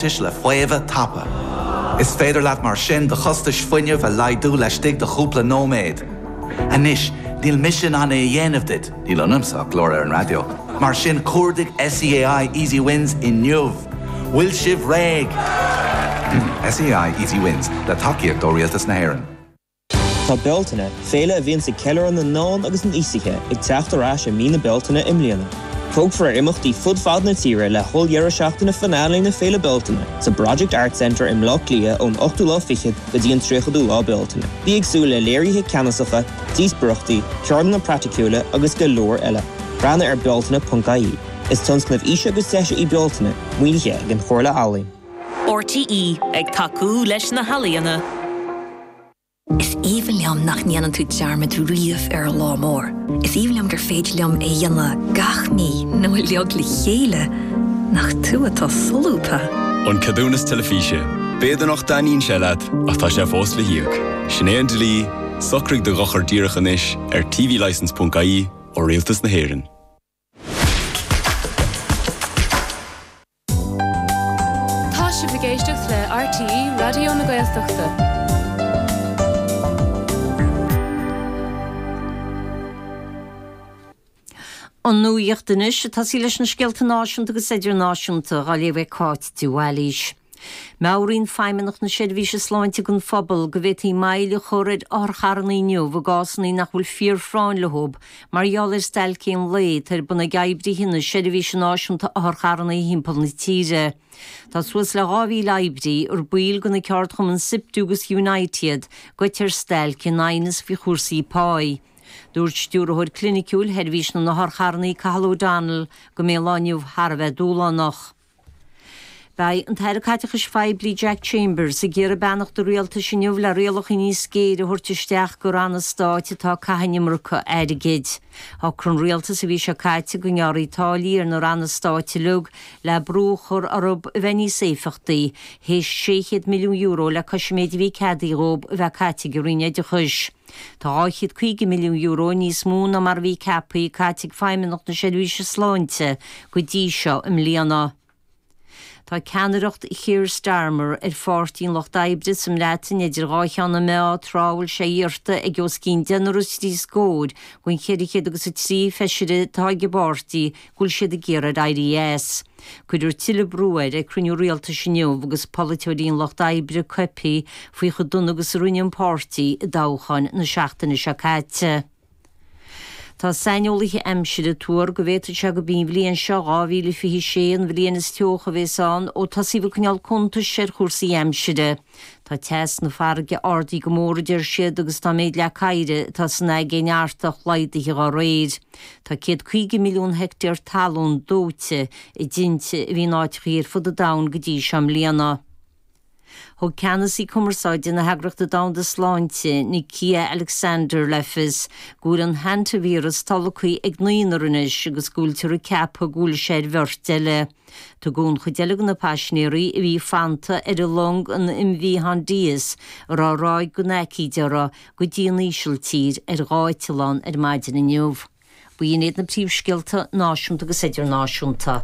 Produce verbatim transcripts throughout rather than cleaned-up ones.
le faomhadh tapa. Is féidir leat mar sin do chostais fuinnimh a laghdú laistigh de chúpla nóiméad. Anois, níl mise in ann é a dhéanamh duit, níl ionamsa ach glór ar an raidió. Mar sin cuardaigh SEAI Easy Wins inniu. Bhfuil sibh réidh. SEAI Easy Wins le tacaíocht ó Rialtas na hÉireann. Tá Bealtaine, féile a bhíonn ag ceiliúradh na ndán agus na n-aosaithe ag teacht ar ais i mí na Bealtaine i mbliana. Tógfar ar imeachtaí fud fad na tíre le holl-dheireadh seachtaine finale na Féile Bealtaine sa Project Art Centre i mBleá Cliath ón ochtú lá fichead go dtí an tríochadú lá Bealtaine. Bí ag súil le léirithe ceannasacha, díospóireachtaí, ceardlanna praiticiúla agus go leor eile. Breathnaigh ar bealtaine.ie. Is tionscnamh Fhís agus Deise í Bealtaine, maoinithe ag an Chomhairle Ealaíon. RTÉ ag tacú leis na healaíona. Is aoibhinn liom nach ndéanann tú dearmad riamh ar an lá mór. Is aoibhinn liom gur féidir liom é a dhéanamh gach mí nó uilig le chéile nach tú atá solúbtha. An ceadúnas teilifíse. B'fhéidir nach dtaitníonn sé leat ach tá sé fós le híoc. Sin é an dlí, socraigh do dhochar díreach anois ar tvlicence.ie ó Rialtas na hÉireann. Tá sibh ag éisteacht le RTÉ Raidió na Gaeltachta. An nuacht anois ag tosaí leis na scéalta náisiúnta agus idirnáisiúnta á léamh ag Cáit de Bhailís. Meabhraíonn Feidhmeannacht na Seirbhíse Sláinte don phobal go bhféadfaí moill a chur ar otharcharranna inniu i gcásanna nach bhfuil fíorphráinn leo mar gheall ar stailc aon lae atá ar bun ag oibrithe na Seirbhíse Náisiúnta Otharcharranna thimpeall na tíre. Tá suas le dhá mhíle oibrí ar baill de na ceardchumainn SIPTU agus Unite iad goite ar stailc in aighneas faoi chúrsaí páí. Dúirt stiúrthóir cliniciúil Sheirbhís na nOtharcharranna Cathal O'Donnell go mbeidh an lá inniu thar a bheith dúshlánach. Beidh an tAire Caiteachais Phoiblí Jack Chambers ag iarraidh beannacht an rialtais inniu le rialacha níos géire a thabhairt isteach do ranna stáit atá ag caitheamh an iomarca airgid. Shocraigh an rialtas an mhí seo caite go ngearrfaí táillí ar na ranna stáit uilig le brú a chur orthu a bheith níos éifeachtaí, théis sé chéad milliún euro le cois an méid a bhí ceadaithe dhóibh a bheith caite ag an Roinn Oideachais. Tá dhá chéad caoga milliún euro níos mó ná mar a bhí ceaptha caite ag Feidhmeannacht na Seirbhíse Sláinte go dtí seo i mbliana. Tá ceannaireacht Keir Starmer ar Pháirtí an Lucht Oibre sa mBreatain idir dhá cheann na meá tráth a bhfuil sé iarrta ag os cionn deichniúr is trí scór den cheithre chéad agus a trí feisire atá ag an bpáirtí go bhfuil siad ag iarraidh éirí as. Cuirfear tuilleadh brú air ag cruinniú rialtais inniu agus polaiteoirí an Lucht Oibre coipthe faoi chomh dona agus a rinne an páirtí i dtoghcháin na seachtaine seo caite. Tá saineolaithe aimsire ag tuar go bhféadfadh sé gurb í an bhliain seo dhá mhíle fiche sé an bhliain is teocha a bhéas ann ó tosaíodh ag coinneáil cuntais ar chúrsaí aimsire. Tá teas na farraige ardaithe go mór a deir siad agus tá méid leac oighir atá san aigéan Artach laghdaithe dá réir. Tá céad caoga milliún heicteár talún dóite i dtinte a bhí in áiteachaí ar fud an domhain go dtí seo i mbliana. Thug ceannasaí cumarsáide na hEagraíochta Domhanda Sláinte, Nikia Alexander le fios go bhfuil an hantavíreas tolgtha ag naonúr anois agus go bhfuiltear ag ceapadh go bhfuil sé ar bheirt eile. Tugadh an chuid eile de na paisinéirí a bhí fanta ar an long an MV Hondius a raibh ráig den aicíd orthu go dtí an Ísiltír ar dhá eitleán ar maidin inniu. B'in iad na príomhscéalta náisiúnta agus idirnáisiúnta.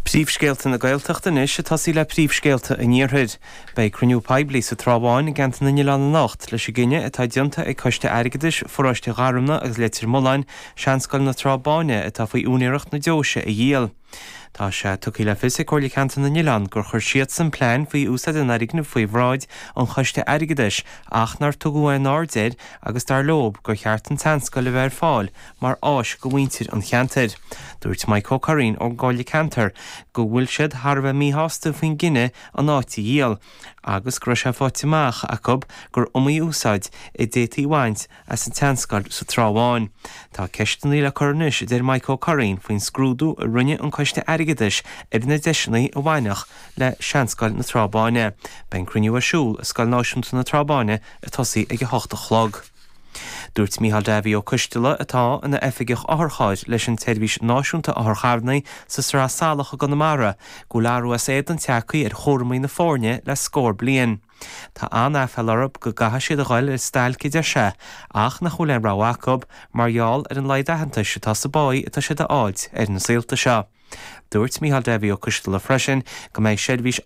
Príomhscéalta na Gaeltachta anois ag tosaí le príomhscéalta an Iarthair. Beidh cruinniú poiblí sa Trá Bháin i gceantar na nOileán anocht leis an gcinneadh atá déanta ag Coiste Airgeadais, Pharóiste Gharumna agus Leitir Mealláin, Seanscoil na Trá Báine atá faoi úinéireacht na deoise a dhíol. Tá sé tugtha le fios ag Comhairle Ceantar na nOileán gur chuir siadsan plean faoi úsáid an fhoirgnimh faoi bhráid an Choiste Airgeadais ach nár tugadh aon aird air agus dar leo gur cheart an tseanscoil a bheith ar fáil mar áis do mhuintir an cheantair. Dúirt Mike Ó Curraoin ón gComhairle Ceantair go bhfuil siad thar a bheith míshásta faoin gcinneadh an áit a dhíol agus go raibh sé faighte amach acu gur iomaí úsáid a d'fhéadfaí a bhaint as an tseanscoil sa Trá Bháin. Tá ceisteanna le cur anois a deir Mike Ó Curraoin faoin scrúdú a rinne an Coiste Airgeadais ar na deiseanna a bhainfeadh le Seanscoil na Trá Báine. Beidh an cruinniú ar siúl i Scoil Náisiúnta na Trá Báine ag tosaí ag a hocht a chlog. Dúirt Micheál Davy Ó Coisteala atá ina oifigeach otharchairr leis an tSeirbhís Náisiúnta Otharcharranna sa Sraith Salach i gConamara go bhfuil athrú as éadan tagtha ar chúraimí na foirne le scór bliain. Tá an-aiféala orthu go gcaithfidh siad a ghoil ar stailc a deir sé ach nach bhfuil aon rogha acu mar gheall ar an laghad aitheantais atá sa bpá atá siad a fháilt ar na saolta seo. Dúirt Micheál Davy Ó Coistealbha freisin go mbeidh seirbhís